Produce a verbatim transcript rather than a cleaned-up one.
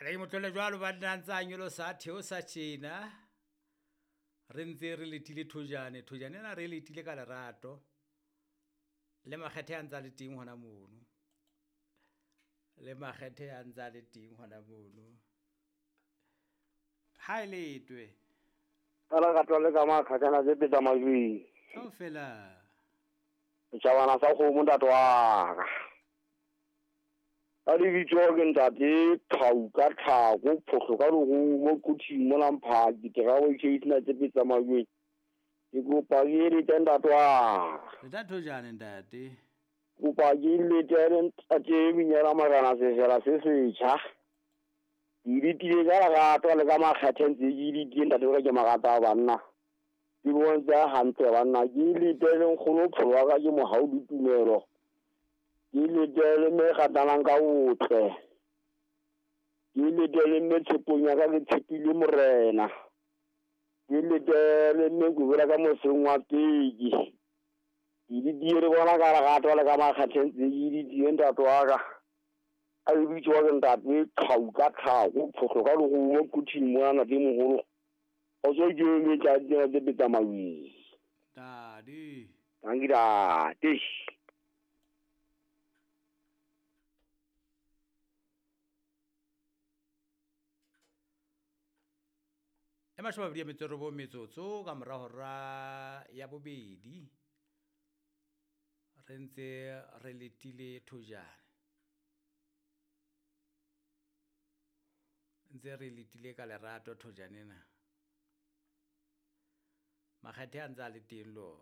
Re motlole jwalo banna ntse a nyolosa a theosa tjena. Re ntse re letile thojane, thojane ena re letile ka lerato. Le makgethe a ntse a le teng hona mono. Le makgethe a ntse a le teng hona mono. Ha e letwe. Ka lerato le ka makgakgana tse peta majweng. Kaofela. Setjhabana sa kgomo ntate wa ka. Ka lebitso ke ntate Thau ka tlhako phohlo ka lerumo Quthing mona Mphaki terao ke tsena tse peta majweng. Ke kopa ke eletse ntate wa ka. Leta thojane ntate. Kopa ke eletse ntate Minyela Marena sefela se setjha. Ke letile ka lerato le ka makgethe ntse ke letile ntate wa ka ke marata a banna. Ke bontsha hantle banna ke letele nkgono pholo wa ka ke mohau le tumelo. Ke letele mme ratanang ka botle. Ke letele mme tshepong ya ka ke tshepile morena. Ke letele mme ke ka moseng wa peki. Ke letile re bona ka lerato le ka makgethe ntse ke letile ntate wa ka. A lebitso wa ke ntate Thau ka tlhako phohlo ka lerumo Quthing mona ke moholo. O so ke metsa tsena tse peta maweng. Ntate. Tanki ntate. E mashome a mabedi a metso e robong metsotso ka mora hora ya bobedi. Re ntse re letile thojane. Ntse re letile ka lerato thojane ena. Makgethe a ntse a le teng le ona.